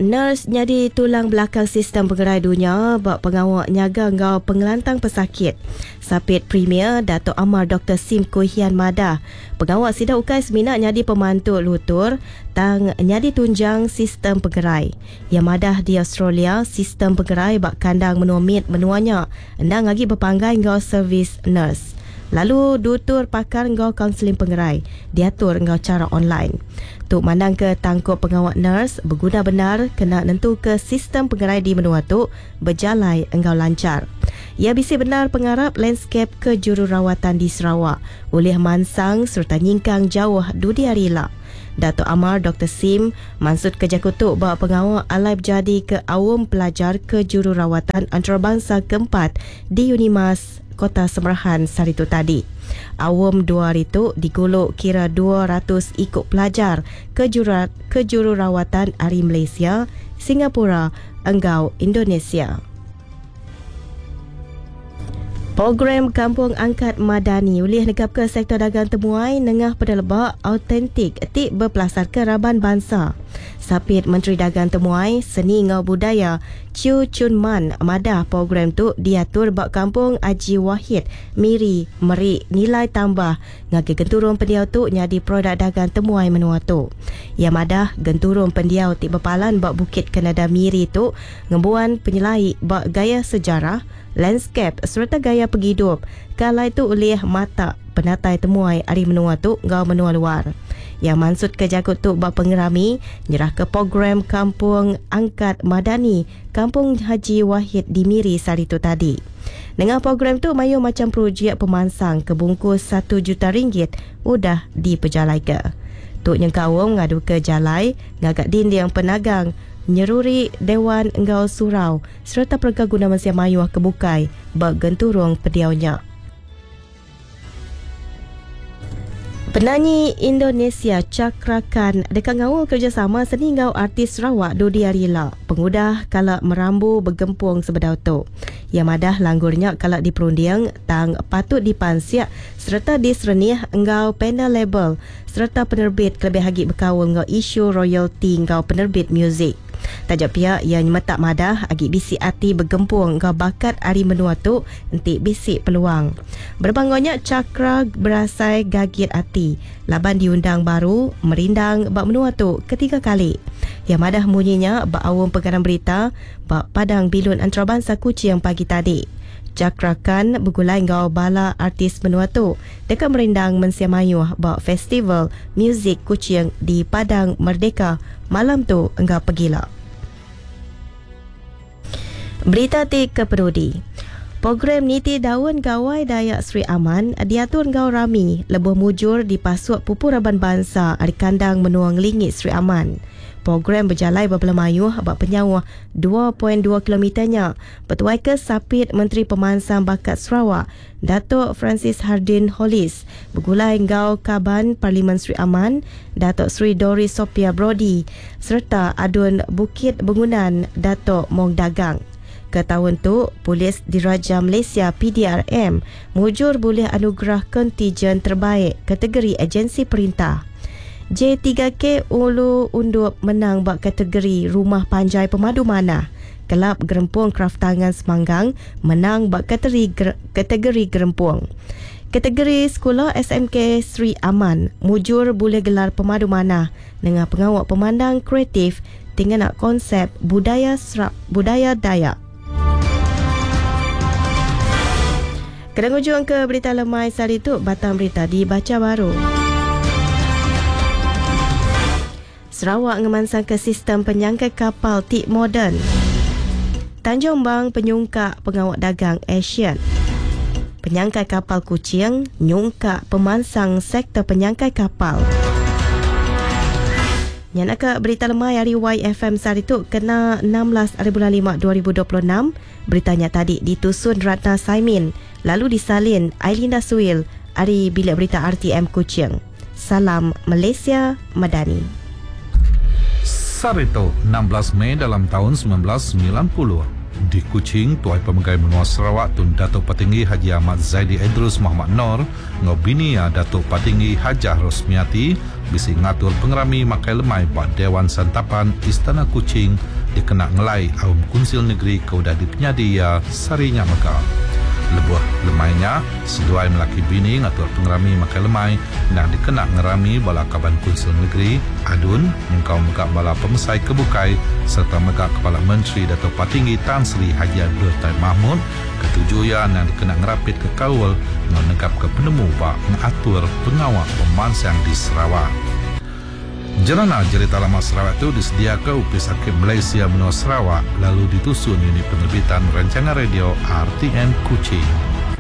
Nurse nyadi tulang belakang sistem pengerai dunya ba pengawa nyaga enggau pengelantang pesakit. Sapit Premier Datuk Amar Doktor Sim Kui Hian madah, pengawa sida ukai semina nyadi pemantu lutur tang nyadi tunjang sistem pengerai. Iya madah di Australia, sistem pengerai ba kandang menua mit menua nya endang agi bepanggai enggau servis nurse. Lalu dutur pakar enggau kaunseling pengerai diatur enggau chara online. Tu mandangka tangkup pengawa nurse beguna bendar kena nentuka sistem pengerai di menua tu bejalai enggau lanchar. Iya bisi bendar pengarap landskap kejururawatan di Sarawak ulih mansang sereta nyingkang jauh dudi hari ila. Datuk Amar Doktor Sim mansutka jaku tu ba pengawa alai bejadika Aum Pelajar Kejururawatan Antarabangsa Keempat di Unimas, Kota Semerahan sehari tu tadi. Aum dua hari tu digulu kira 200 iku pelajar kejururawatan ari Malaysia, Singapura enggau Indonesia. Program Kampung Angkat Madani ulih negapka sektor dagang temuai nengah peneleba autentik ti bepelasarka raban bansa. Sapit Menteri Dagang Temuai, Seni enggau Budaya, Chew Chun Man madah program tu diatur ba Kampung Aji Wahid, Miri meri nilai tambah ngagai genturung pendiau tu nyadi produk dagang temuai menua tu. Iya madah genturung pendiau ti bepalan ba Bukit Kanada Miri tu ngembuan penyelai ba gaya sejarah, landscape sereta gaya pengidup ke alai tu ulih matak penatai temuai ari menua tu enggau menua luar. Iya mansutka jaku tu ba pengerami nyerahka program Kampung Angkat Madani Kampung Haji Wahid di Miri sehari tu tadi. Nengah program tu mayuh macham projek pemansang ke bungkus satu juta ringgit udah dipejalaika. Tu nyengkaum ngaduka jalai, ngaga dinding penagang, nyeruri dewan enggau surau sereta perengka guna mensia mayuh ke bukai ba genturung pendiau nya. Penanyi Indonesia Cakra Khan deka ngaul kerejasama seni enggau artis Sarawak dudi hari ila pengudah kala merambu begempung sebedau tu. Iya madah langgur nya kala diperunding tang patut dipansik sereta diserenih enggau panel label sereta penerbit kelebih agi bekaul enggau isu royalti enggau penerbit muzik. Taja pia, iya nyemetak madah agi bisi ati begempung enggau bakat ari menua tu enti bisi peluang. Berebak enggau nya, Chakra berasai gagit ati laban diundang baru merindang ba menua tu ketiga kali. Iya madah munyi nya ba aum pengarang berita ba Padang Bilun Antarabansa Kuching pagi tadi. Chakra Khan begulai enggau bala artis menua tu deka merindang mensia mayuh ba Festival Muzik Kuching di Padang Merdeka malam tu enggau pegila. Berita ti kepenudi. Program Niti Daun Gawai Dayak Sri Aman diatur enggau rami lebuh mujur dipasuk pupu raban bansa ari kandang menua ngelingi Sri Aman. Program bejalai bebela mayuh ba penyauh 2.2 kilometer nya betuaika Sapit Menteri Pemansang Bakat Sarawak Datuk Francis Hardin Hollis begulai enggau Kaban Parlimen Sri Aman Datuk Seri Doris Sophia Brodie sereta Adun Bukit Bengunan Datuk Mong Dagang. Ke taun tu, Polis Diraja Malaysia, PDRM, mujur bulih anugerah kontijen terbaik kategori agensi perintah. J3K Ulu Undup menang ba kategori Rumah Panjai Pemadu Manah. Kelab Gerempung Kraftangan Semanggang menang ba kategori gerempung. Kategori sekula SMK Sri Aman mujur bulih gelar pemadu manah nengah pengawa pemandang kreatif ti ngena konsep budaya budaya Dayak. Kena ngujungka berita lemai sehari tu, batang berita dibacha baru. Sarawak ngemansangka sistem penyangkai kapal ti moden. Tanjung Bang penyungkak pengawa dagang ASEAN. Penyangkai kapal Kuching nyungkak pemansang sektor penyangkai kapal. Nya naka berita lemai ari YFM sehari tu kena 16 ari bulan 5 2026. Berita nya tadi ditusun Ratna Saimin lalu disalin Ailinda Suil ari Bilik Berita RTM Kuching. Salam Malaysia Madani. Sehari tu, 16 Mei dalam taun 1990. Di Kuching, Tuai Pemegai Menua Sarawak Tun Datuk Patinggi Haji Ahmad Zaidi Edruce Mohamad Nor enggau bini iya Datuk Patinggi Hajah Rosmiati bisi ngatur pengerami makai lemai ba Dewan Santapan Istana Kuching dikena ngelai Aum Kunsil Negeri ke udah dipenyadi iya sehari nya mega. Lebuh lemai nya, seduai melaki bini ngatur pengerami makai lemai endang dikena ngerami bala Kaban Kunsil Negeri, ADUN, nyengkaum mega bala pemesai ke bukai sereta mega Kepala Menteri Datuk Patinggi Tan Sri Haji Abdul Taib Mahmud ke tuju iya endang dikena ngerapitka kaul enggau negapka penemu ba ngatur pengawa pemansang di Sarawak. Jerana Jerita Lama Sarawak tu disediaka Opis Arkib Malaysia Menua Sarawak lalu ditusun Unit Penerbitan Rancangan Radio RTM Kuching.